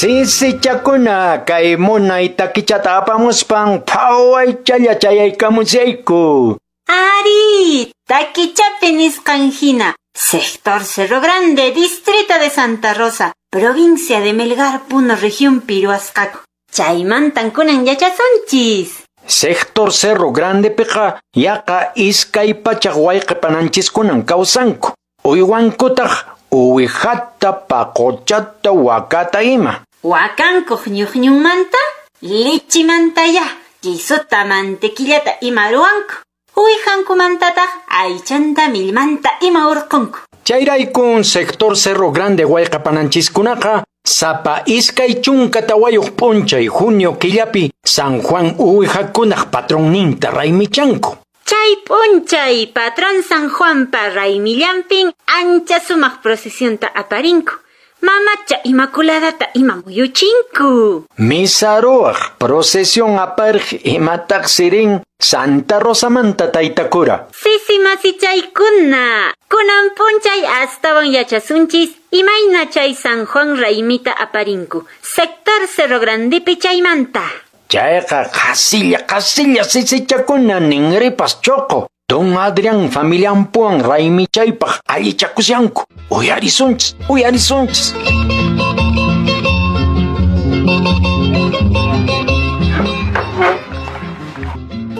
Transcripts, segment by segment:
Sisichakuna kay munay takichata apamuspan phawaychalla chayaykamusayku. Ari, takichapi nisqan hina, sector Cerro Grande, distrito de Santa Rosa, provincia de Melgar, Puno, región Piruasqaku. Chaymantan kunan yachasunchis. Sector Cerro Grande piqa yaqa 200 wayqipananchiskunan kawsanku. Uywankutaq uwihata, paquchata, wakata ima. Wakankuq ñuqñunmanta, lichimantaya, quisuta, mantequillata ima ruwanku. Uwihankumantataq aychanta, millmanta ima hurqunku. Chayraykun sector Cerro Grande wayqapananchiskunaqa sapa 24 p'unchay junio killapi San Juan uwihakunaq patronninta raymichanku. Chay p'unchay patrón San Juanpa raymillanpin ancha sumaq procesionta aparinku. Mamacha Inmaculadata ima muyuchinku. Misa ruwaq procesión aparq imataq sirin Santa Rosamanta taytakura. Sisi masichaykuna, kunan p'unchay astawan yachasunchis imayna chay San Juan raymita aparinku. Sector Cerro Grandepi chaymanta. Chayqa qasilla qasilla sisichakuna ninripas choqo. Don Adrián familianpuwan raymichaypaq allichakushanku. Uyarisunchis, uyarisunchis.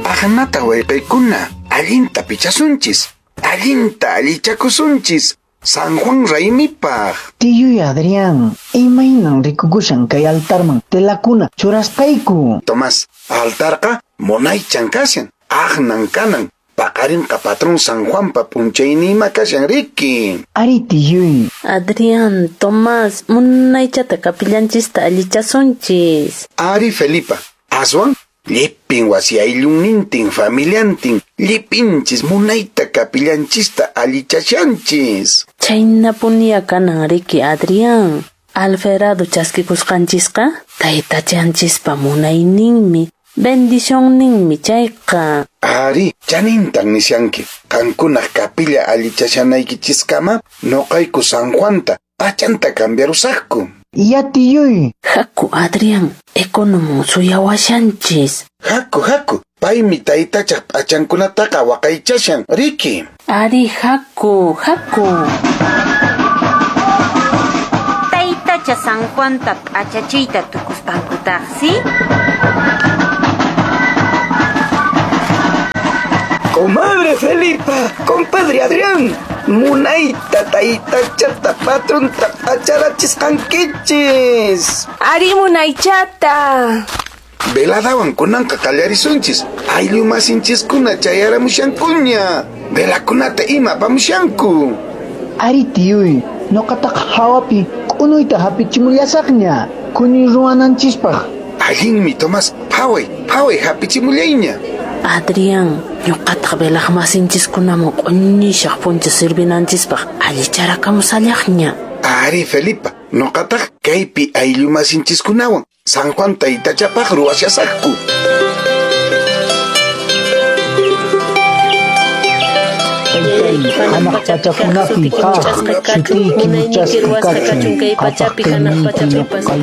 Aqnata wayqiykuna, allinta pichasunchis, allinta allichakusunchis. San Juan raymipaq. Tiyuy Adrián, imaynan rikukushan kay altarman telakuna churasqayku. Tomás, altarqa munaychan kashan, aqnan kanan. Paqarinqa patrón San Juanpa p'unchaynima kashan riki. Ari tiyuy. Adrián, Tomás, munaychata kapillanchista allichasunchis. Ari Felipa, aswan llipin wasi ayllunnintin familiantin llipinchis munayta kapillanchista allichashanchis. Chhaynapuniya kanan riki Adrián. Alferado chaskikusqanchisqa taytachanchispa munayninmi, bendicionninmi chayqa. Ari, chanintan nishanki. Qankunaq kapilla allichashanaykichiskama nuqayku San Juanta p'achanta cambiarusaqku. Ya tiyuy. Haku Adrián, economo suyawashanchis. Haku, haku, paymi taytachaq p'achankunataqa waqaychashan, riki. Ari, haku, haku. Taytacha San Juanta p'achachiyta tukuspankutaqsi. Comadre Felipa, compadre Adrián, munayta taytachata patronta p'acharachisqankichis. Ari munaychata. Veladawan kunanqa qallarisunchis. Ayllu masinchiskuna chayaramushankuña. Velakunata ima apamushanku. Ari tiyuy, nuqataqa hawapi k'unuyta hapichimullasaqña, kuni ruwananchispaq. Allinmi Tomás, phaway, phaway hapichimullayña. Adrián, ñuqataq velaq masinchiskunaman q'uñishaq puncha sirvinanchispaq allicharakamusallaqña. Ari Felipa, nuqataq kaypi ayllu masinchiskunawan San Juan taytachapaq ruwashasaqku. Hanaq pachakunapi kaq sutiyki muchasqa kachun, qhapaq kayniyki ñuqaykuwan.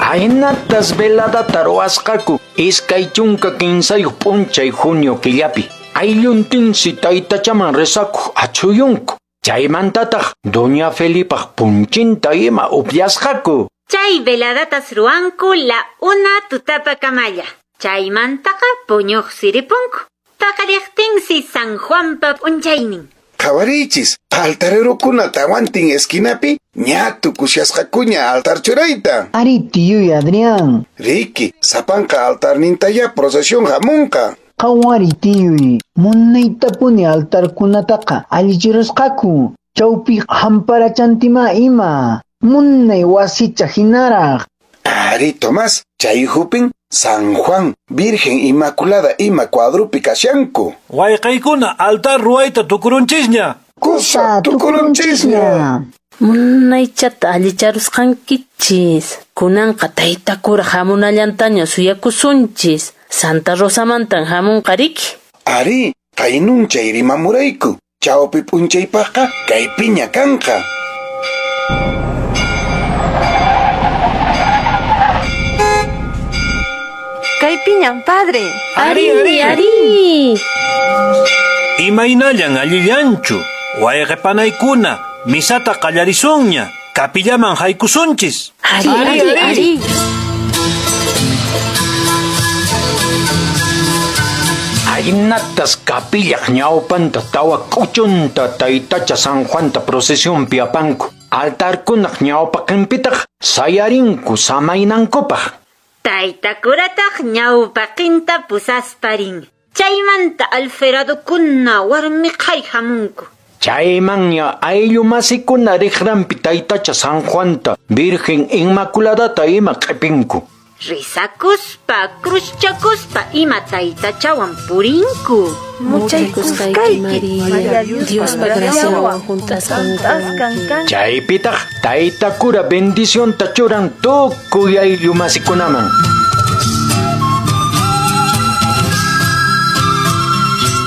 Aynatas veladata ruwasqaku 23 p'unchay junio killapi. Aylluntinsi taytachaman rezakuq achhuyunku. Chaymantataq doña Felipaq punchinta ima upyasqaku. Chay veladatas ruwanku la 1 tutapa kamalla. Chaymantaqa puñuq siripunku. Paqariqtinsi San Juanpa p'unchaynin. Qhawariychis, altarerokuna tawantin esquinapi ña tukushasqakuña altar churayta. Ari tiyuy Adrián. Riki, sapanqa altarnintaya procesión hamunqa. Qhawari tiyuy, munaytapuni altarkunataqa allichirusqaku. Chawpi hamparachantima ima, munay wasicha hinaraq. Ari Tomás, chay hupin San Juan, Virgen Inmaculada ima cuadrupi kashanku. Wayqaykuna altar ruwayta tukurunchisña. Kusa tukurunchisña. Munaychata allicharusqankichis. Kunanqa taytakura hamunallantaña suyakusunchis. Santa Rosamantan hamunqa riki. Ari, Qaynunchay rimamurayku. Chawpi p'unchaypaqqa kaypiña kanqa. Kaypiñan, padre. Ari, ari. Imaynallan allillanchu. Wayqipanaykuna, misata qallarisunña. Kapillaman haykusunchis. Ari, ari, ari. Aynatas kapillaq ñawpanta tawa k'uchunta taytacha San Juanta procesionpi apanku. Altarkunaq ñawpaqinpitaq sayarinku samaynankupaq. Tayta kurataq ñawpaqinta pusasparin. Chaymanta alferadokuna warmi qhari hamunku. Chaymanña ayllu masikuna riqranpi taytacha San Juanta, Virgen Inmaculadata ima q'ipinku. Rizakuspa, cruzchakuspa ima taytachawan purinku. Muchaykusqayki Maria, Diospa graciawan hunt'asqan kanki. Chaypitaq tayta cura bendicionta churan tukuy ayllu masikunaman.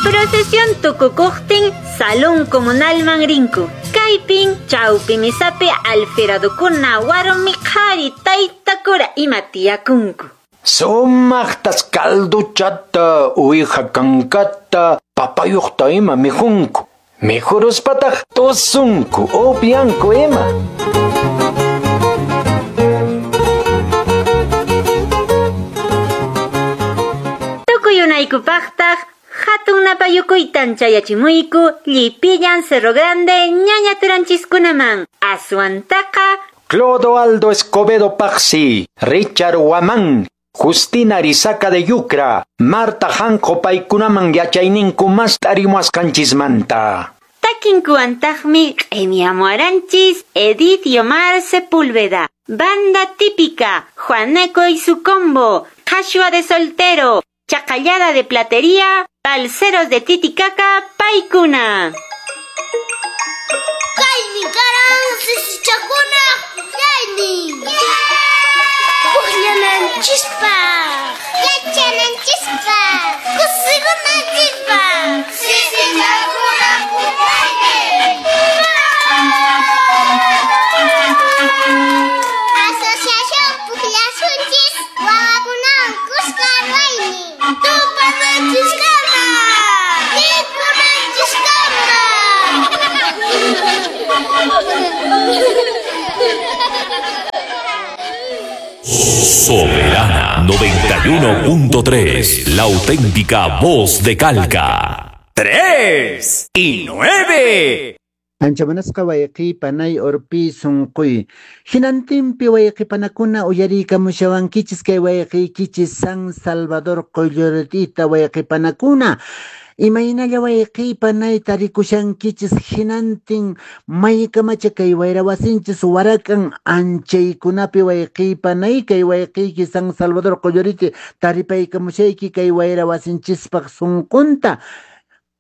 Procesión tukukuqtin salón comunalman rinku. Kaypin chawpi misapi alferadokuna warmi qhari tayta cura ima tiyakunku. Sumaqtas calduchata, uwiha kankata, papayuqta ima mikhunku. Mikhuruspataq tusunku, upyanku ima. Tukuy unaykupaqtaq hatun napayukuytan chayachimuyku llipillan Cerro Grande ñaña turanchiskunaman. Aswantaqa Clodoaldo Escobedo Paxi, Richard Huamán, Justina Arizaca de Yucra, Marta Janjo paykunaman yachayninku mast'arimuasqanchismanta. Takinkuwantaqmi q'imiamuaranchis Edith Yomar Sepúlveda, Banda Típica, Juaneco y su combo, Qhashua de Soltero, Chacallada de Platería, Balseros de Titicaca, Paikuna. Kaynin karan sisichakuna pukllaynin. Pukllananchispaq, yachananchispaq, kusikunanchispaq. Sisichakuna pukllaynin. Asociación Pukllasunchis wawakunawan kuska ruwaynin. Tupananchiskama, mikhunanchiskama. Soberana 91.3, la auténtica voz de Calca. 3 y 9. Anchamanasqa wayqipanay urpi sunquy. Hinantinpi wayqipanakuna uyariykamushawankichis kay wayqiykichis San Salvador Qoyllurtita wayqipanakuna. Imaynalla wayqipanay tarikushankichis hinantin maykamacha kay wayra wasinchis warakan anchaykunapi wayqipanay kay wayqiyki San Salvador Qolluriti taripaykamushayki kay wayra wasinchispaq sunqunta.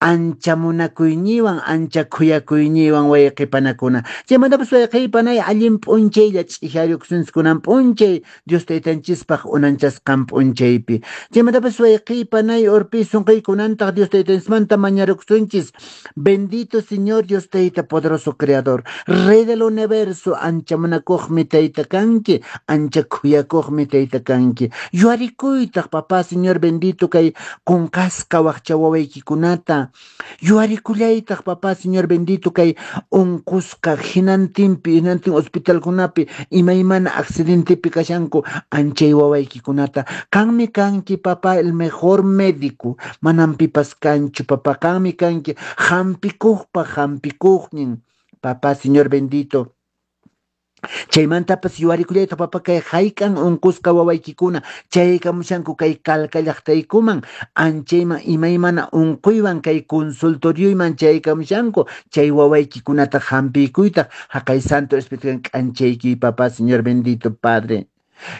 Ancha munakuyñiwan, ancha khuyakuyñiwan wayqipanakuna. Chaymantapas wayqipanay allin p'unchaylla ch'ihariykusunchis p'unchay Dios taytanchispaq unanchasqan p'unchaypi. Chaymantapas wayqipanay urpi sunquykunantaq Dios taytanchismanta mañarukusunchis. Bendito Señor Dios tayta poderoso creador, Rey del universo, ancha munakuqmi tayta kanki, ancha khuyakuqmi tayta kanki. Yuarikuytaq papá Señor bendito kay qunqasqa waqcha wawaykikunata. Yuarikullaytaq papá Señor bendito kay unqusqa hinantinpi hinantin hospitalkunapi imaymana accidentepi kashanku anchay wawaykikunata. Qanmi kanki papá el mejor médico, manam pipas kanchu papá, qanmi kanki hampikuqpa hampikuqnin papá Señor bendito. Chaymantapas yuarikullayta papá kay hayk'an unqusqa wawaykikuna chaykamushanku kay Calca llaqtaykuman anchayman imaymana unquywan kay consultorioyman chaykamushanku chay wawaykikunata hampiykuytaq haqay Santo Espíritu k'anchayki papá Señor bendito Padre.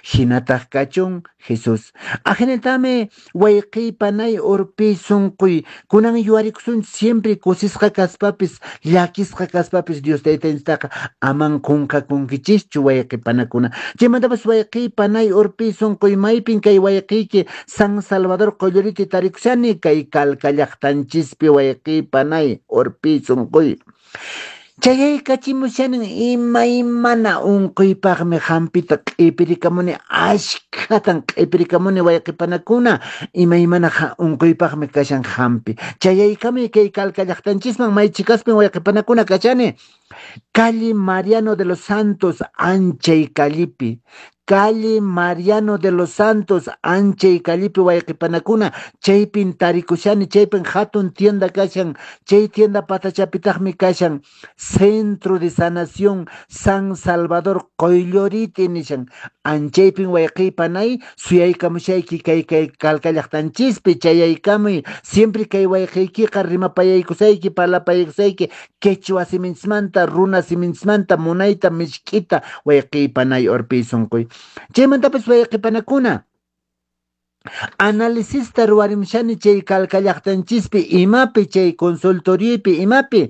Hinataq kachun Jesús. Ajinatami wayqiy panay urpi sunquy kunan yuwarikusunchis siempre kusisqa kaspapis llakisqa kaspapis Dios taytanchistaqa aman qunqakunkichischu wayqi panakuna. Chaymantapas wayqiy panay urpi sunquy maypin kay wayqiyki San Salvador Qolloriti tarikushani kay Calca llaqtanchispi wayqiy panay urpi sunquy. Chayaykachimushanin imaymana unquypaqmi hampita q'ipirikamuni askhatan q'ipirikamuni wayqipanakuna imaymana unquypaqmi kashan hampi. Chayaykamuy kay Calca llaqtanchisman may chikaspin wayqipanakuna kashani. Calle Mariano de los Santos anchay callepi. Calle Mariano de los Santos, anchay callepi wayqipanakuna, chaypin tarikushani, chaypin hatun tienda kashan, chay tienda patachapitaqmi kashan, Centro de Sanación San Salvador Qoylloriti nishan, anchaypin wayqipanay, suyaykamushayki kay kay Calca llaqtanchispi, chayaykamuy, siempre kay wayqiykiqa rimapayaykusayki, parlapayaykusayki, quechua siminchismanta, runa siminchismanta, munayta, mishk'ita, wayqipanay urpi sunquy. Chaymantapas wayqipanakuna, analisista ruwarimushani chay Calca llaqtanchispi, imapi chay consultoriopi, imapi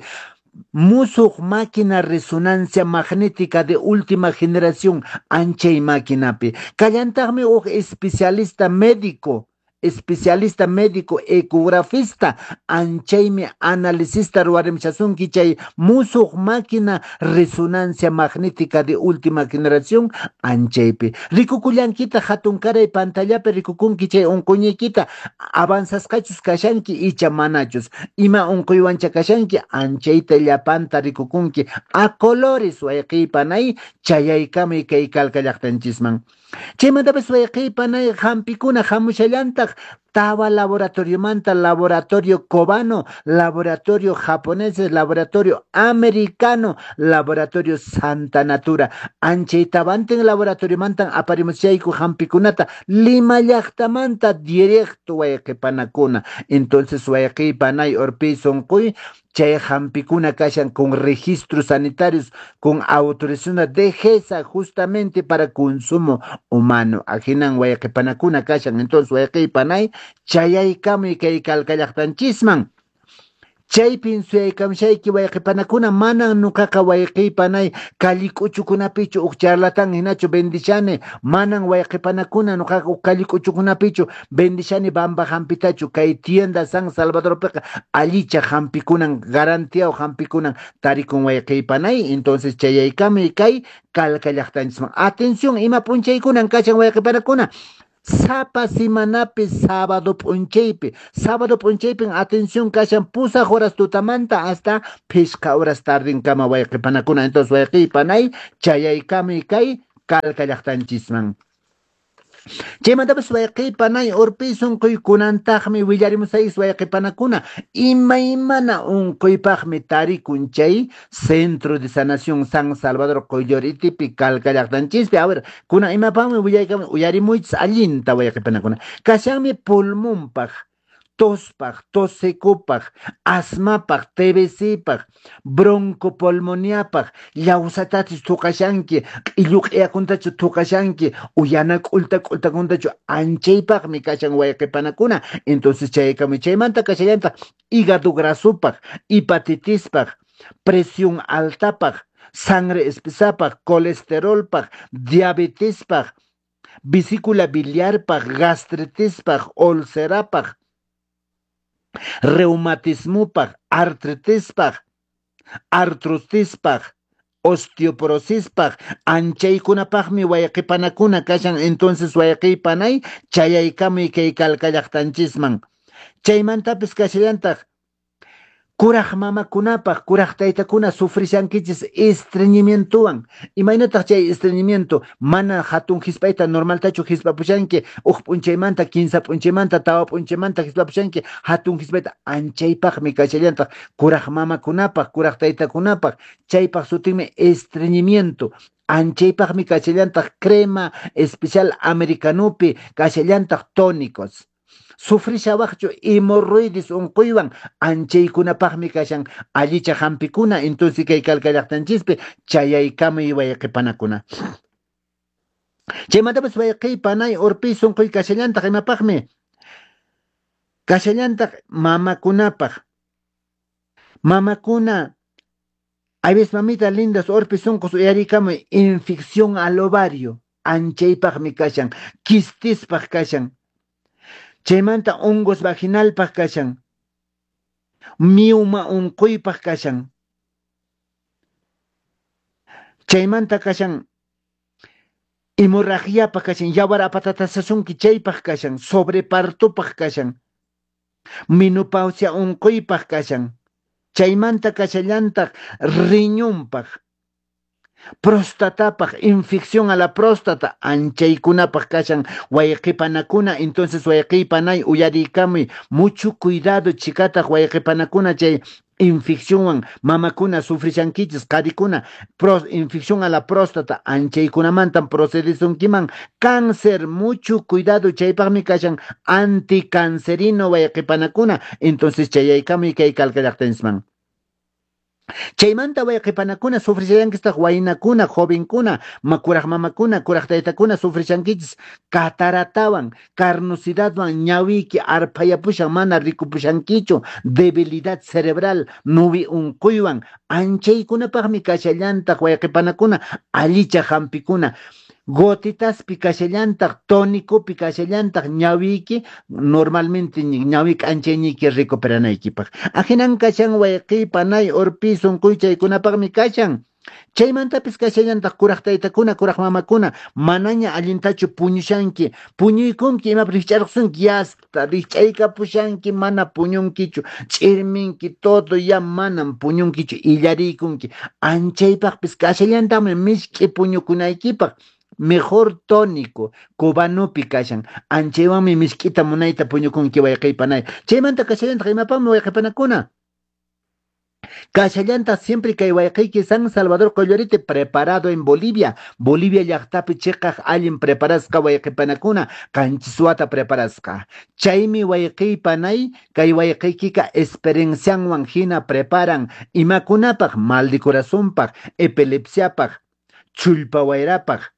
musuq máquina resonancia magnética de última generación anchay maquinapi. Kallantaqmi huk especialista médico, especialista médico ecografista, anchaymi analisista ruwarimushasunki chay musuq máquina resonancia magnética de última generación anchaypi. Rikukullankita hatunkaray pantallapi rikukunki chay unquyniykita avanzasqachus kashanki icha manachus, ima unquywancha kashanki anchayta llapanta rikukunki a colores wayqiypanay chayaykamuy kay Calca llaqtanchisman. Chaymantapas wayqiypanay hampikuna hamushallantaq tawa laboratoriomanta, laboratorio cubano, laboratorio japonés, laboratorio americano, laboratorio Santa Natura. Anchay tawantin laboratoriomantan aparimushayku hampikunata Lima llaqtamanta directo wayqipanakuna. Entonces wayqiypanay urpi sunquy chay hampikuna kashan con registros sanitarios, con autorización de DGESA justamente para consumo humano. Ajinan wayqipanakuna kashan. Entonces wayqiypanay chayaykamuy kay Calca llaqtanchisman. Chaypin suyaykamushayki wayqipanakuna, manan nuqaqa wayqiypanay callik'uchukunapichu huk charlatán hinachu vendishani, manan wayqipanakuna nuqaqa huk callik'uchukunapichu vendishani bamba hampitachu. Kay tienda San Salvadorpiqa allicha hampikunan, garantiao hampikunan tarikun wayqiypanay. Entonces chayaykamuy kay Calca llaqtanchisman. Atención, ima p'unchaykunan kashan wayqipanakuna. Sapa semanapi sábado p'unchaypi, sábado p'unchaypin atención kashan 8 horas tutamanta hasta 5 horas tardinkama wayqipanakuna. Entonces wayqiypanay chayaykamuy kay Calca llaqtanchisman. Chaymantapas wayqipanay urpi sunquy kunantaqmi willarimusayis wayqipanakuna imaymana unquypaqmi tarikun chay Centro de Sanación San Salvador Qolloritipi Calca llaqtanchispi. A ver, kunan imapaqmi willaykamun uyarimuychis allinta wayqipanakuna. Kashanmi pulmonpaq, tospaq, tos secopaq, asmapaq, TBCpaq, broncopulmoniapaq, llawsatachu thuqashanki, q'illu q'iyakuntachu thuqashanki, uyana k'ulta k'ultakuntachu, anchaypaqmi kashan wayqipanakuna. Entonces chaykamuy chaymanta kashallantaq hígado grasopaq, hepatitispaq, presión altapaq, sangre espesapaq, colesterolpaq, diabetespaq, vesícula biliarpaq, gastritispaq, ulcerapaq, reumatismopaq, artritispaq, artrotispaq, osteoporosispaq, anchaykunapaqmi wayqipanakuna kashan. Entonces wayqipanay chayaykamuy kay Calca llaqtanchisman. Chaymantapis kashallantaq kuraq mamakunapaq, kuraq taytakuna sufrishankichis estreñimientowan. Imaynataq chay estreñimiento? Mana hatun hisp'ayta normaltachu hisp'apushanki, huk p'unchaymanta, 15 p'unchaymanta, 4 p'unchaymanta hisp'apushanki, hatun hisp'ayta anchaypaqmi kashallantaq kuraq mamakunapaq, kuraq taytakunapaq. Chaypaq sutinmi estreñimiento. Anchaypaqmi kashallantaq crema especial americanopi, kashallantaq tónicos. Sufrishawaqchu hemorroides unquywan, anchaykunapaqmi kashan allicha hampikuna. Entonces kay Calca llaqtanchispi chayaykamuy wayqipanakuna. Chaymantapas wayqiy panay urpiy sunquy kashallantaq imapaqmi? Kashallantaq mamakunapaq. Mamakuna, hay veces mamita lindas urpi sunqus uyarikamuy infección al ovario, anchaypaqmi kashan, quistispaq kashan. Chaymanta hongos vaginalpaq kashan, mioma unquypaq kashan. Chaymanta kashan hemorragiapaq kashan, yawar apatatasasunki chaypaq kashan, sobrepartopaq kashan, menopausia unquypaq kashan, chaymanta kashallantaq riñonpaq, prostatapaq, infección a la próstata, anchaykunapaq kashan, wayqipanakuna, entonces wayqipanay uyariykamuy, mucho cuidado chikataq wayqipanakuna chay infeccionwan mamakuna sufrishankichis, qharikuna, infección a la próstata, anchaykunamantan procedisunkiman, cáncer, mucho cuidado, chaypaqmi kashan anticancerino wayqipanakuna, entonces chayaykamuy kay Calca llaqtanchisman. Chaymanta wayqipanakuna sufrishallankistaq waynakuna, jovenkuna, kuraq mamakuna, kuraq taytakuna sufrishankichis cataratawan, carnosidadwan ñawiyki arphayapushan mana rikupushankichu, debilidad cerebral, nuwi unquywan, anchaykunapaqmi kashallantaq wayqipanakuna, allicha hampikuna, gotitaspi kashallantaq, tónicopi kashallantaq, ñawiyki normalmente ñawi k'anchayniyki recuperanaykipaq. Ahinan kashan wayqiy panay urpi sunquy chaykunapaqmi kashan. Chaymantapis kashallantaq kuraq taytakuna, kuraq mamakuna, manaña allintachu puñushanki, puñuykunki imapi rikch'arqusunki, yasta rikch'aykapushanki, mana puñunkichu, ch'irminki, todo ya manam puñunkichu, illariykunki. Anchaypaqpis kashallantaqmi misk'i puñukunaykipaq, mejor tónico, cubanopi kashan, anchaywanmi misk'ita munayta puñukunki wayqiy panay. Chaymanta kashallantaq imapaqmi wayqipanakuna? Kashallantaq siempre kay wayqiyki San Salvador Qollorite preparado en Bolivia, Bolivia llaqtapi chiqaq allin preparasqa wayqipanakuna, qanchis wata preparasqa. Chaymi wayqiy panay kay wayqiykika experiencianwan hina preparan imakunapaq, mal de corazonpaq, epilepsiapaq, chullpa wayrapaq,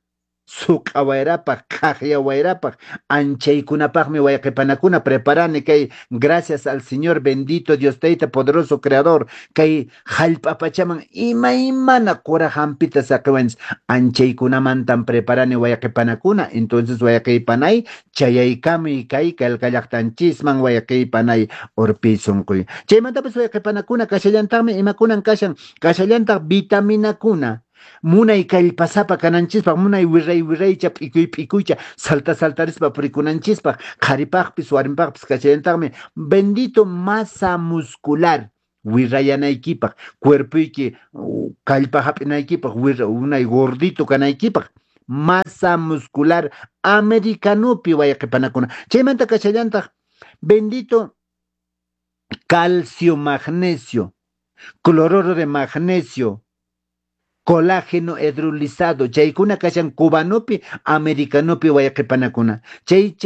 suq'a wayrapaq, qhaqya wayrapaq, anchaykunapaqmi wayqipanakuna preparani kay gracias al Señor bendito Dios Tayta poderoso creador kay hallp'a pachaman imaymana qura hampita saqiwanchis, anchaykunamantan preparani wayqipanakuna, entonces wayqipanay chayaykamuy kay Calca llaqtanchisman wayqipanay urpi sunquy. Chaymantapas wayqipanakuna kashallantaqmi imakunan kashan, kashallantaq vitaminakuna, munay kallpasapa kananchispaq, munay wirray wirraycha, p'ikuy p'ikuycha, salta saltarispa purikunanchispaq, qharipaqpis warmipaqpis kashallantaqmi bendito masa muscular, wirrayanaykipaq, cuerpoyki kallpa hap'inaykipaq, munay gordito kanaykipaq, masa muscular americanopi wayqipanakuna. Chaymanta kashallantaq bendito calcio magnesio, cloruro de magnesio, colágeno hidrolizado, chaykuna kashan cubanopi, americanopi wayqipanakuna. Chay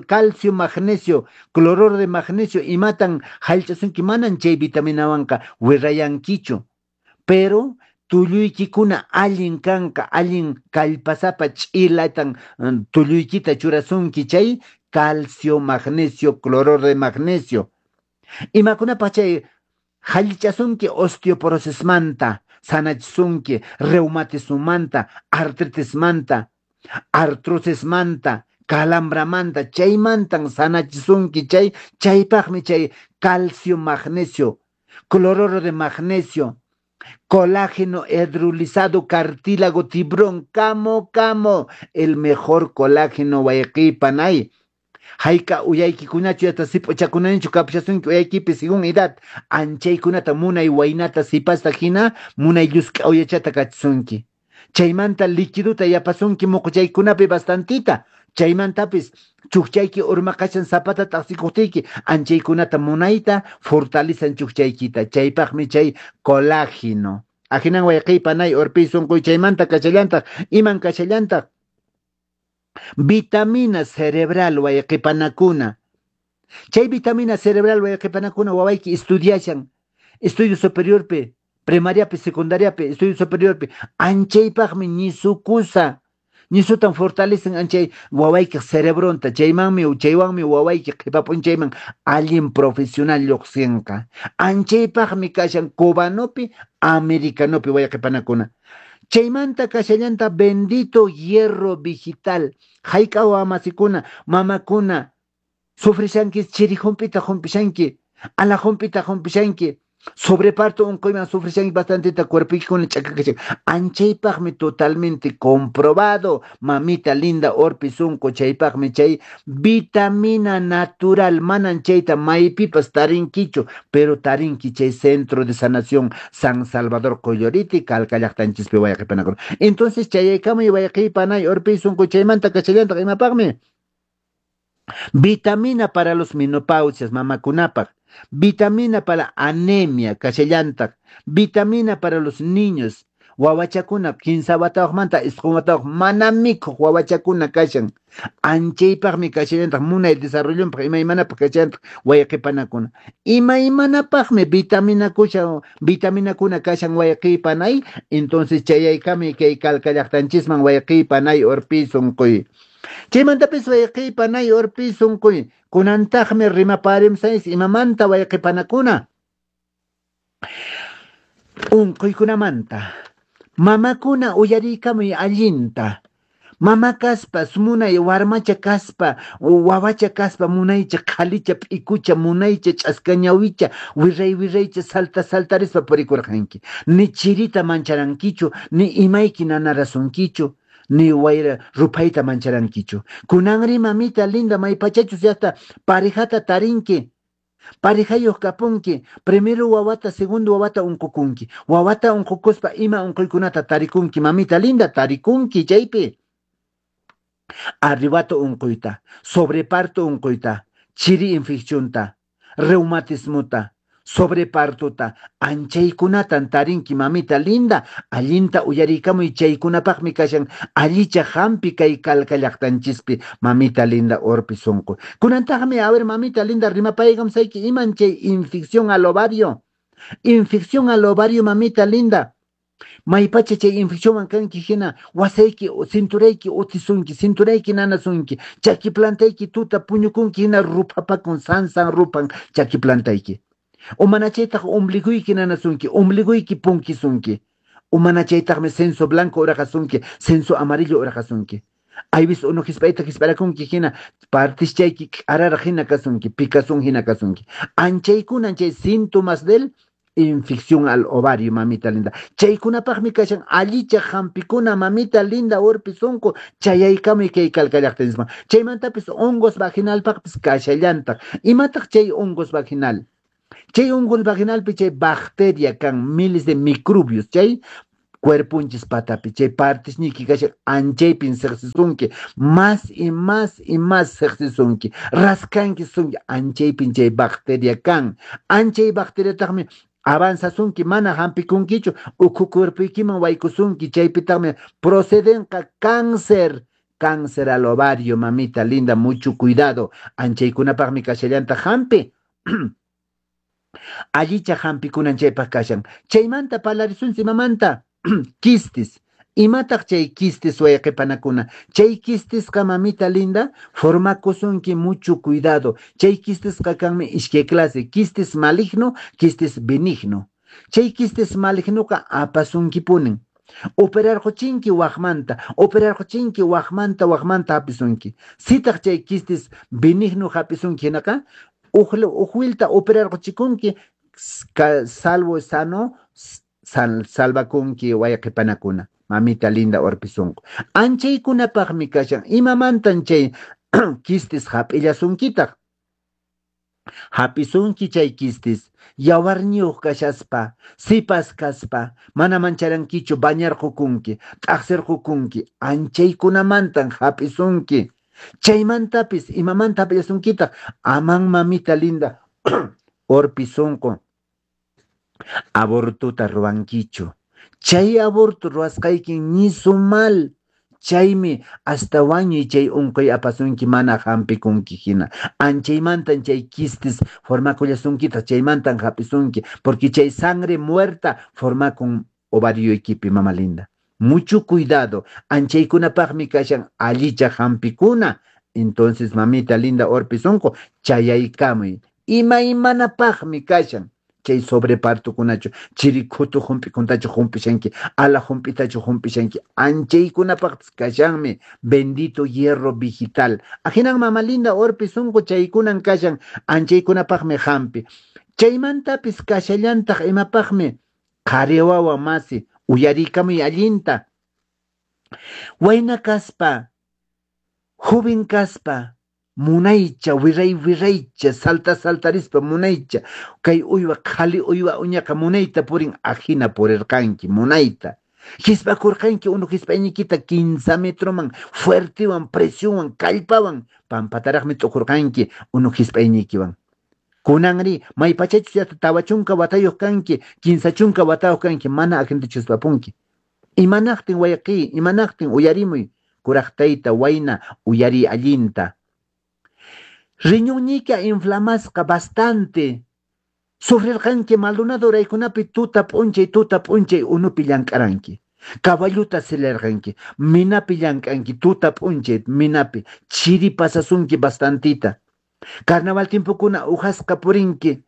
calcio magnesio, cloruro de magnesio, imatan hallch'asunki, manan chay vitaminawanqa wirrayankichu, pero tulluykikuna allin kanqa, allin kallpasapa ch'ilatan tulluykita churasunki chay calcio magnesio, cloruro de magnesio. Imakunapaq chay hallichasunki osteoporosismanta, sanachisunki reumatismomanta, artritismanta, artrosismanta, calambramanta, chaymantan sanachisunki chay, chaypaqmi chay calcio magnesio, cloruro de magnesio, colágeno hidrolizado, cartílago tiburón, camo, camo, el mejor colágeno wayqipanay. Hayka uyaykikunachu yata sip'uchakunanichu kapushasunki uyaykipi según edad, anchaykunata munay waynata sipasta hina munay llusk'a uyachata kachisunki. Chaymanta liquidota yapasunki muquchaykunapi bastantita, chaymantapis chukchayki urmaqashan zapata t'aqsikuqtiyki anchaykunata munayta fortalizan chukchaykita, chaypaqmi chay colágeno. Ahinan wayqiy panay urpiy sunquy chaymanta kashallantaq, iman kashallantaq vitamina cerebral wayqipanakuna. Chay vitamina cerebral wayqipanakuna wawayki estudiashan estudio superiorpi, primariapi, secundariapi, estudio superiorpi, anchaypaqmi ñisukusa. Ñisutan fortalecen anchay wawaykiq cerebronta, chaymanmi chaywanmi wawayki qhipa p'unchayman allin profesional lluqsinqa. Anchaypaqmi kashan cubanopi, americanopi wayqipanakuna. Chaymanta kashallanta bendito hierro vegetal. Hayk'a wamasikuna, mamakuna, sufrishanki chiri hump'ita humpishanki, ala hump'ita humpishanki, sobreparto unquyman sufrishanki bastanteta cuerpoykikuna ch'akakashan. Anchaypaqmi totalmente comprobado, mamita linda urpi sunqu, chaypaqmi chay vitamina natural, manan chayta maypipas tarinkichu, pero tarinki chay Centro de Sanación San Salvador Qolloriti, Calca llaqtanchispi wayqipanakuna. Entonces chayaykamuy wayqipanay urpi sunqu, chaymanta kashallantaq imapaqmi? Vitamina para los menopausias, mamakunapaq. Vitamina para anemia, kashallantaq. Vitamina para los niños. Wawachakuna, 15 watayuqmanta 9 watayuq mana mikhuq wawachakuna kashan. Anchaypaqmi kashallantaq munay desarrollonpaq imaymanapaq kashallantaq wayqipanakuna. Imaymanapaqmi vitaminakuna kashan wayqipanay. Entonces chayaykamuy kay Calca llaqtanchisman wayqipanay urpi sunquy. Chaymantapis wayqipanay urpi sunquy. Kunantaqmi rimaparimsayis imamanta wayqipanakuna. Unquykunamanta. Mamakuna uyariykamuy allinta. Mama kaspa, munay warmacha kaspa, wawacha kaspa, munaycha qhalicha p'ikucha, munaycha ch'aska ñawicha, wirray wirraycha salta saltarispa purikurqanki. Ni chirita mancharankichu, ni imayki nanarasunkichu, ni wayra ruphayta mancharankichu. Kunanri mamita linda maypachachus llaqta parejata tarinki. Parejayuq kapunki, primero wawata, segundo wawata unqukunki. Wawata unqukuspa ima unquykunata tarikunki, mamita linda tarikunki chaypi. Arrebato unquyta, sobreparto unquyta, chiri infeccionta, reumatismota, sobrepartota, anchaykunatan tarinki mamita linda, allinta uyariykamuy chaykunapaqmi kashan allicha hampi kay Calca llaqtanchispi mamita linda urpi sunqu. Kunantaqmi, a ver mamita linda rimapaykamsayki iman chay infección al ovario. Infección al ovario mamita linda. Maypacha chay infeccionwan kanki hina wasayki cinturayki utisunki, cinturayki nanasunki, chaki plantayki tuta puñukunki hina ruphapakun sansan rupan chaki plantayki. O mana chaytaq ombliguyki nanasunki, ombliguyki punkisunki. O mana chaytaqmi censo blanco uraqasunki, censo amarillo uraqasunki. Aybis unu hisp'ayta hisp'arakunki hina partischayki k'araraq hina kasunki, pikasun hina kasunki. Anchaykunan chay síntomas del infección al ovario, mamita linda. Chaykunapaqmi kashan allicha hampikuna, mamita linda urpi sunqu, chayaykamuy kay Calca llaqtanchisman. Chaymantapis hongos vaginalpaqpis kashallantaq. Imataq chay hongos vaginal? Chay hongos vaginalpi chay bacteria kan miles de microbios, chay cuerpunchis patapi, chay partisniki kashan anchaypin siqsisunki, más y más y más siqsisunki, raskanki sunki, anchaypin chay bacteria kan. Anchay bacteriataqmi avanzasunki, mana hampikunkichu, ukhu cuerpoykiman waykusunki, chaypitaqmi procedenqa cáncer, cáncer al ovario, mamita linda, mucho cuidado. Anchaykunapaqmi kashallanta hampi. Allicha hampikunan chaypaq kashan. Chaymanta parlarisunchis imamanta? Quistes. Imataq chay quistes wayqipanakuna? Chay quistesqa mamita linda formakusunki mucho cuidado. Chay quistesqa kanmi iskay clase, quistes maligno, quistes benigno. Chay quistes malignoqa apasunkipunin. Operarquchinki waqmanta, operarquchinki waqmanta, waqmanta hapisunki. Sitaq chay quistes benigno hapisunki hinaqa, uj operarquchikunki, salvo sano, salvakunki wayqipanakuna. Mamita linda urpi sunqu. Anchaykunapaqmi kashan. Imamantan chay quistes hap'illasunkitaq? Hap'isunki chay quistes, yawarniyuq kashaspa, sipas kaspa, mana mancharankichu bañarqukunki, t'aqsirqukunki, anchaykunamantan hap'isunki. Chaymantapis imamanta hap'illasunkitaq? Aman mamita linda urpi sunqu abortuta ruwankichu. Chay aborto ruwasqayki ñisu mal. Chaymi hasta wañuy chay unquy apasunki mana hampikunki hina. Anchaymantan chay quistes formakullasunkitaq, chaymantan hapisunki, porque chay sangre muerta formakun ovarioykipi, mama linda. Mucho cuidado. Anchaykunapaqmi kashan allicha hampikuna. Entonces, mamita linda Orpi sonqo, chayaykamuy. Imaymanapaqmi kashan chay sobrepartokunachu, chiri khutu hump'ikuntachu humpishanki, ala hump'itachu humpishanki, anchaykunapaqpis kashanmi, bendito hierro vegetal. Ahinan mama linda Orpi sonqo chaykunan kashan, anchaykunapaqmi hampi. Chaymantapis kashallantaq imapaqmi qhari wawa masi, uyarikamuy allinta. Wayna kaspa, joven kaspa, munaycha, wiray wiraycha, salta saltarispa munaycha, kay uywa qhali uywa uñaqa munayta purin, ajina purirqanki, munayta. Hisp'akurqanki unu hisp'ayniykita 15 metroman, fuertewan, presionwan, kallpawan, pampataraqmi t'ukurqanki unu hisp'ayniykiwan. Kunanri, maypachachus llaqta 40 watayuq kanki, 30 watayuq kanki, mana ajintachu hisp'apunki. Imanaqtin wayqiy, imanaqtin uyarimuy, kuraq tayta wayna uyariy allinta. Riñonñiyka inflamasqa bastante. Sufrirqanki Maldonado uraykunapi tuta p'unchay tuta p'unchay unupi llank'aranki. Caballuta silarqanki, minapi llank'anki tuta p'unchay minapi, chiri pasasunki bastantita. Carnaval tiempokuna ujasqa purinki,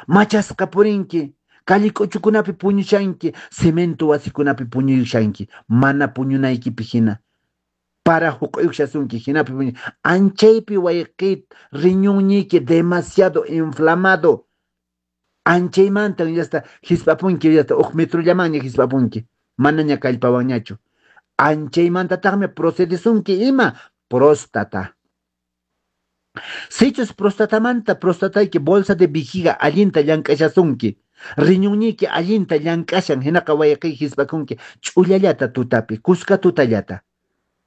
machasqa purinki, calle k'uchukunapi puñushanki, cemento wasikunapi puñuyushanki, mana puñunaykipi hina. Para huq'uyushasunki hinapi puñu. Anchaypi wayqi riñonñiyki demasiado inflamado. Anchaymantan yasta hisp'apunki, yasta huk metrollamanña hisp'apunki, manaña kallpawanñachu. Anchaymantataqmi procedesunki ima próstata. Sichus prostatamanta prostatayki bolsa de vejiga allinta llank'ashasunki, riñonñiyki allinta llank'ashan, hinaqa wayqiy hisp'akunki ch'ullallata tutapi, kuska tutallata.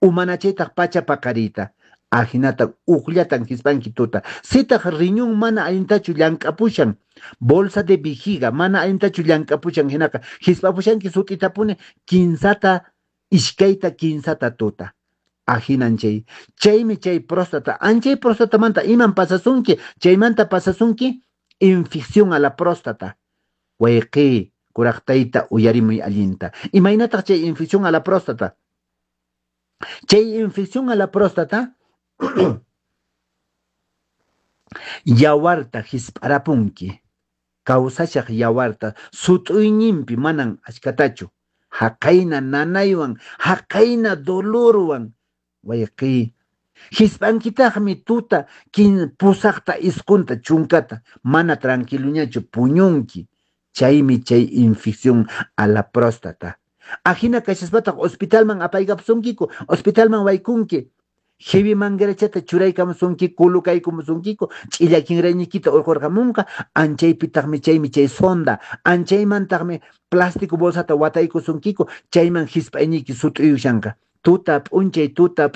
Umanachaytaq pacha paqariyta, ahinata ujllatan hisp'anki tuta. Sitaq riñón mana allintachu llank'apushan, bolsa de vejiga mana allintachu llank'apushan, hinaqa hisp'apushanki sut'itapuni kinsata, iskayta, kinsata tuta. Ahinan chay. Chaymi chay próstata. Anchay próstatamanta iman pasasunki, chaymanta pasasunki infección a la próstata. Wayqiy, kuraq tayta uyarimuy allinta. Imaynataq chay infección a la próstata? Chay infección a la próstata yawarta hisp'arapunki. Kawsashaq yawarta sut'uyninpi manan achkatachu. Haqayna nanaywan, haqayna dolorwan, wayqiy. Hisp'ankitaqmi tuta pusaqta, isqunta, chunkata, mana tranquiloñachu puñunki. Chaymi chay infección a la próstata. Ajina kashaspataq hospitalman apaykapusunkiku, hospitalman waykunki. Heavy manguerachata churaykamusunki, kulukaykamusunkiku, ch'illa kinrayniykita urqurqamunqa, anchaypitaqmi chaymi chay sonda, anchaymantaqmi plástico bolsata wataykusunkiku, chayman hisp'ayniyki sut'uyushanqa. Tuta p'unchay, tuta p'unchay.